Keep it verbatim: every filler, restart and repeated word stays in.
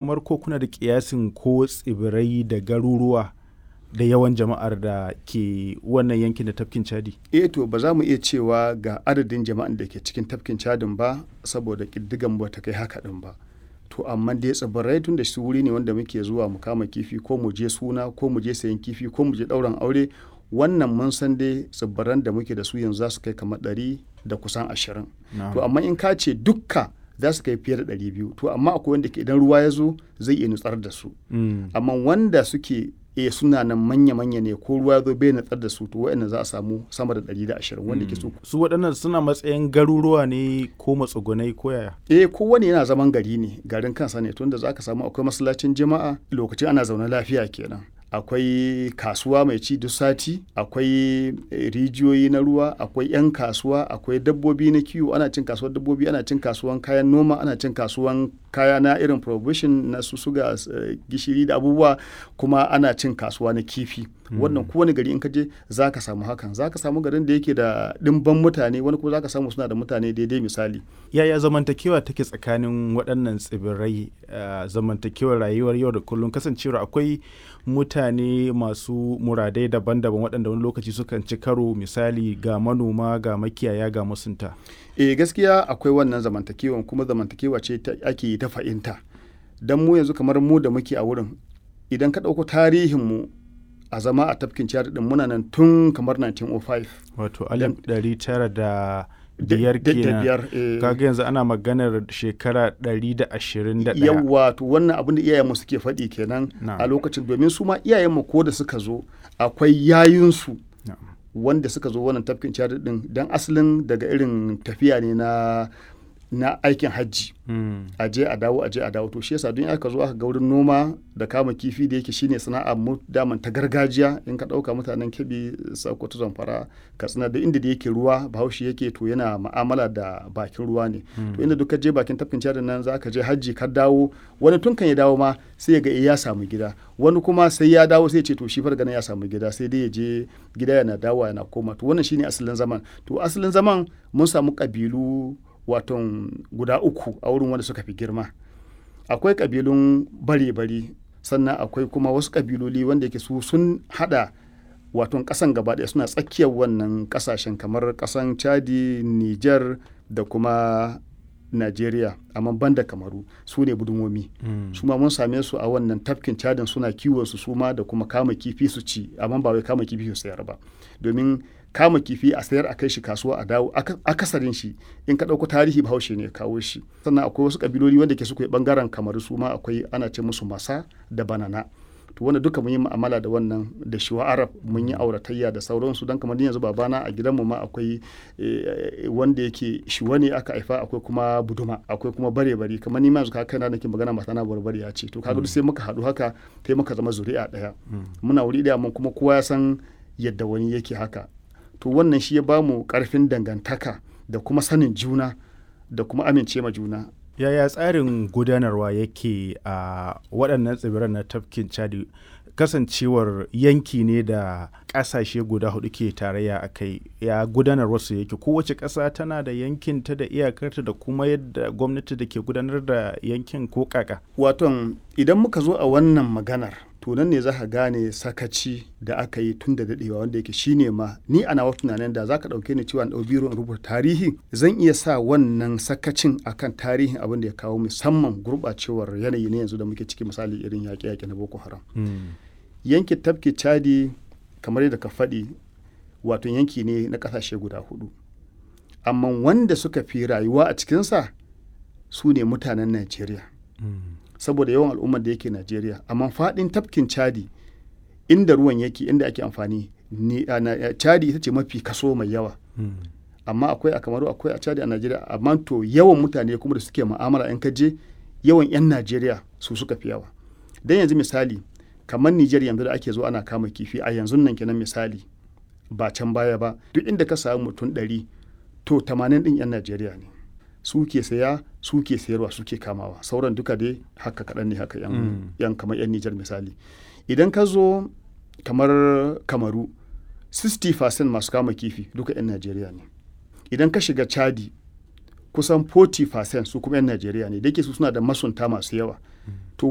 Kamar ko kuna da ƙiyasin ko tsibirai da garuruwa da yawan jama'ar da ke wannan yankin da tafkin Chadi? Eh, to ba za mu iya cewa ga adadin jama'an da ke cikin tafkin Chadin ba, saboda ƙididdigan ba ta kai haka ɗin ba. To amma dai tsibirai, tun da su wuri ne wanda muke zuwa mu kama kifi, ko mu je suna, ko mu je sayan kifi, ko mu je ɗaurin aure, wannan mun san dai tsibiran da muke da su yanzu za su kai kamar ɗari da kusan ashirin. To amma in ka ce dukka, za su kai fiye da ɗari biyu. To amma akwai wanda ke idan ruwa ya zo zai iya nutsar da su. Amma wanda suke e suna nan manya-manya ne, ko ruwa ya zo bai nutsar da su, to waɗannan za a samu sama da ɗari da ashirin wanda ke so. Su waɗannan suna matsayin garuruwa ne ko matsugunai ko yaya? Eh, kowane yana zaman gari ne, garin kansa ne, tunda za ka samu akwai masallacin juma'a lokacin ana zaune lafiya kenan. Akwai kasuwa mai ci duk sati, akwai rijiyoyi na ruwa, akwai 'yan kasuwa, akwai dabbobi na kiwo, ana cin kasuwar dabbobi, ana cin kasuwan kayan noma, ana cin kasuwan kaya na irin provision na su suga, gishiri da abubuwa, kuma ana cin kasuwa na kifi. Wannan kowane gari in ka je za ka samu hakan. Za ka samu garin da yake da ɗimban mutane, wani kuma za ka samu suna da mutane daidai misali. Yaya zamantakewa take tsakanin waɗannan tsibirai, zamantakewar rayuwar yau da kullum, kasancewar akwai mutane masu muradai daban-daban waɗanda wani lokaci sukan ci karo, misali ga manoma, ga makiyaya, ga masunta? Eh, gaskiya akwai wannan zamantakewan, kuma zamantakewa ce ake yi ta fahimta. Dan mu yanzu kamar mu da muke a wurin, idan ka ɗauko tarihin mu a zama a tafkin Chad ɗin, muna nan tun kamar dubu ɗaya da ɗari tara da biyar. Wato alif ɗari tara da biyar kenan. Kaga yanzu ana maganar shekara ɗari da ashirin da ɗaya. Yawwa, to wannan abin da iyayenmu suke faɗi kenan a lokacin, domin su ma iyayenmu ko da suka zo akwai yayunsu wanda suka zo wannan tafkin Chad ɗin, dan asalin daga irin tafiya ne na na aikin hajji. A je a dawo, a je a dawo. To shi yasa don aka zo aka ga wurin noma da kama kifi da yake shine sana'a mu daman ta gargajiya. In ka ɗauka mutanen Kebbi, Sokoto, Zamfara, Katsina, da inda da yake ruwa Bahaushe yake, to yana ma'amala da bakin ruwa ne. To inda duk ka je bakin tafkin Chad nan za ka je hajji ka dawo, wani tun kan ya dawo ma sai ya ga ya samu gida, wani kuma sai ya dawo sai ya ce to shi fa daga nan ya samu gida, sai dai ya je gida yana dawowa yana koma. To wannan shine asalin zaman. To asalin zaman mun samu ƙabilu waton guda uku a wurin wanda suka fi girma. Akwai ƙabilun bare-bari, sannan akwai kuma wasu ƙabiloli wanda yake su sun haɗa waton ƙasan gaba ɗaya, suna tsakiyar wannan ƙasashen kamar ƙasan Chadi, Niger da kuma Najeriya, amma banda Kamaru, su ne Budumomi. Su ma mun same su a wannan tafkin Chadin, suna kiwon su suma da kuma kama kifi su ci, amma ba wai kama kifi su sayar ba. Domin kama kifi a sayar, a kai shi kasuwa a dawo, akasarin shi in ka ɗauko tarihi Bahaushe ne ya kawo shi. Sannan akwai wasu ƙabiloli wanda ke suke ɓangaren Kamaru, su ma akwai, ana ce musu Masa da Banana. To wanda duka mun yi mu'amala da wannan da Shuwa Arab, mun yi auratayya da sauransu, don kamar yanzu babana a gidanmu ma akwai wanda yake Shuwa ne aka haifa, akwai kuma Buduma, akwai kuma bare-bare. Kamar ni ma yanzu kaga kaina nake magana, matana Barbariya ce. To kaga duk sai muka haɗu haka sai muka zama zuri'a ɗaya. Muna wuri ɗaya mun kuma kowa ya san yadda wani yake haka. To wannan shi ya bamu ƙarfin dangantaka da kuma sanin juna da kuma amince ma juna. Yaya tsarin gudanarwa yake a waɗannan tsibiran na tafkin Chadi, kasancewar yanki ne da ƙasashe guda hudu ke tarayya a kai? Ya gudanarwarsu yake? Kowace ƙasa tana da yankinta da iyakarta da kuma yadda gwamnati da ke gudanar da yankin, ko kaka? Waton idan muka zo a wannan maganar, to nan ne za ka gane sakaci da aka yi tun da daɗewa, wanda yake shine ma ni a nawa tunanin da za ka ɗauke ni cewa in ɗau biro in rubuta tarihi, zan iya sa wannan sakacin akan tarihin abin da ya kawo musamman gurɓacewar yanayi na yanzu da muke ciki, misali irin yaƙe-yaƙe na Boko Haram. Yankin tafkin Chadi, kamar yadda ka faɗi, wato yanki ne na ƙasashe guda huɗu. Amma wanda suka fi rayuwa a cikinsa su ne mutanen Najeriya. Saboda yawan al'ummar da yake Najeriya. Amma faɗin tafkin Chadi, inda ruwan yake, inda ake amfani, ni, Chadi ita ce mafi kaso mai yawa. Amma akwai a Kamaru, akwai a Chadi, a Najeriya. Amma to yawan mutane kuma da suke mu'amala in ka je, yawan 'yan Najeriya su suka fi yawa. Dan yanzu misali kamar Nijar yanzu da ake zo ana kama kifi a yanzun nan kenan misali, ba can baya ba, duk inda ka samu mutum ɗari, to tamanin ɗin 'yan Najeriya ne. Su ke saya, su ke sayarwa, su ke kamawa. Sauran duka dai haka kaɗan ne haka 'yan, 'yan kamar 'yan Nijar misali. Idan ka zo kamar Kamaru, kashi sittin masu kama kifi duka 'yan Najeriya ne. Idan ka shiga Chadi, kusan kashi arba'in su kuma 'yan Najeriya ne, da yake su suna da masunta masu yawa. To